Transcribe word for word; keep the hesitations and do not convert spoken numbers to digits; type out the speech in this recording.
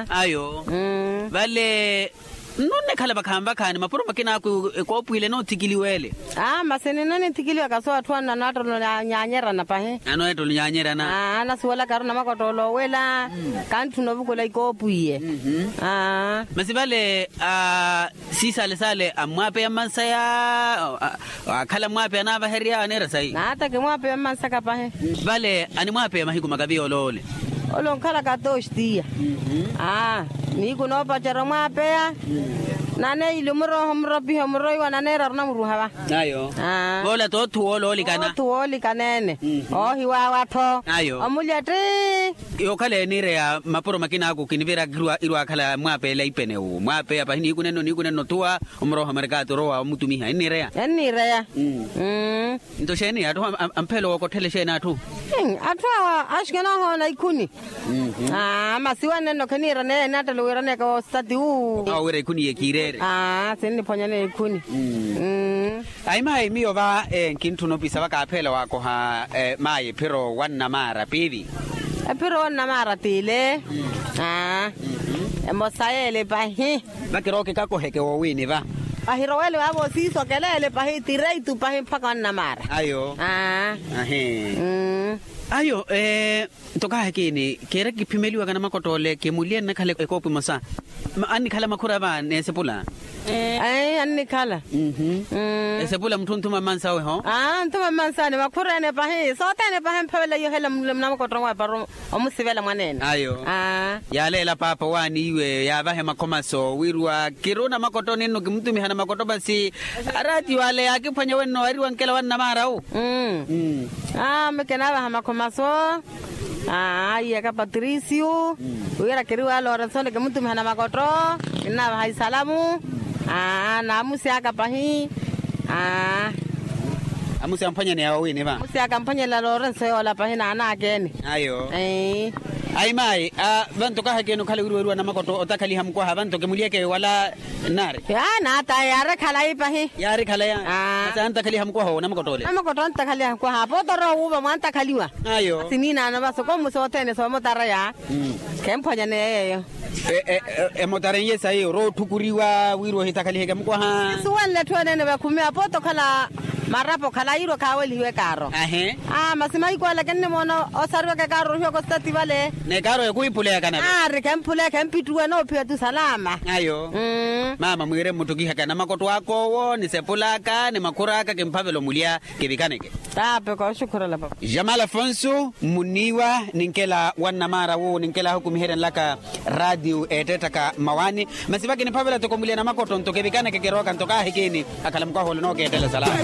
Ayo. Vale, nnunnekhala vakhaani vakhaani mapuro makina aku ekoopwile noothikiliwele. Aa masi ninno ninthikiliwaka so atthu anna anaattolo nyaanyerana pahi. Anoottolo nyaanyerana. Aa anasuwelaka aru namakottoolo owela. Kantthuna ovukula ikoopwiye. Aa masi vale, siisale sale ammwaapeya mmansaya? Akhala ammwaapeya anaavaherya aneera sayi. Naata kimwaapeya mmansaka pahi. Vale animwaapeya mahiku makavi yooloole? Ole onkhalaka toxtiya. Aa nihiku noopacerya omwaapeya. Naneeyile omurooha omuropiha omuroiwa naneera arunamuruha va. Ayo. Voola toothu wooloolikana. Toothu woolikaneene. Oohiwaawa-tho. Ayo omulya tti. Yookhala eniireya mapuro makina aku kinivira irwaakhala mwaapeela ipene wu mwaapeya pahi nihiku nenno nihiku nenno othuwa. Omurooha marikaati orowa omutumiha enniireya. Enniireya. Nto xeeni atthu amphelo wookotthela exeeni atthu? Atthu awa axikana ohoona ikhuni. Masi wanenno kheniira neya enaattelo wiiraneyaka woosati wu. Awo wira ikhuni yekiireere. Sinniphwanyaneya ikhuni. Ayi mayi miyo va nkintthuna opisa va kaaphela waakoha. Mayi ephiro wannamaara piivi? Ephiro wannamaara t'ile. Emosa y'ele pahi. Vakirowa okikakoheke woowini va. Vahirowele vaavo siiso keleele pahi tireitu pahi mpakha wannamaara. Ayo. Ahi. Ayo. Nto kaahekini keera kiphimeliwaka namakott'ole kimulye nnakhala ekoopo emosa. Annikhala makhura va n'esepula? Annikhala. Esepula mutthu onthuma mmansawe ho? Anthuma mmansani makhura ene pahi sothene pahi emphavela iyo hela munamukotto nwawe para omusivela mwaneene. Ayo. Yaaleela paapa owaani iwe yaavahe makhomaso wirwa kiri onamakotto ninno kimutumiha namakotto masi. Araatiyo ale yaakiphwanya wenno wariwa nkela wannamaara wu. Aa mekinaavaha makhomaso. Aa aiyaka patricio wira kiriwa lorenso ni kimutumiha namakotto. Kinnaavaha isalamu. Aa naamusi aka pahi. Aa amusi amphwanyaneya wowini va? Amusi aka amphwanyaneya lorenso yoola pahi naanaakeni. Ayo. Ayi mayi. Vanto kaahekeni okhala wiriweriwa namakotto otakhaliha mukwaha vanto kimulyeke wala. Nnaari. Naata yaari khalayi pahi. Yaari khalayi. Masi antakhaliha mukwaha owo namakotto ole? Namakotto antakhaliha mukwaha apo otorowa wuuva mwantakhaliwa. Ayo. Siniinaano va soko mmusi othene soomotara ya. Khemphwanyaneya yeeyo. Emotarenye sayi orowa otthukuriwa wirwa ohitakhaliheke mukwaha. Suwenle etthu eneene vakhumi apo otokhala. Marapo khalayi irwa khaawelihiwe kaaro. Ahe. Masi mahiku ale kinnimoona osariwaka ekaaro orohiwaka ositati vale. N'ekaaro ya khuwiphuleyaka nave. Aari khemphuleya khempittuwe noophiya tu salama. Ayo. Maama mwiire mmuttokihaka namakotto aka owo ni sepul'aka ni makhur'aka kimphavela omulya. Kivikaneke. Taape kooxukhurela papa. Jamal afonso mmuniiwa ninkela wannamaara wuwo ninkela ahukumiheryanlaka. Raatiyo eettettaka mmawaani. Masi vakiniphavela toko mulya namakotto nto kivikaneke kirooka nto kaahikini. Akhala mukwaha ole nookeettela salama.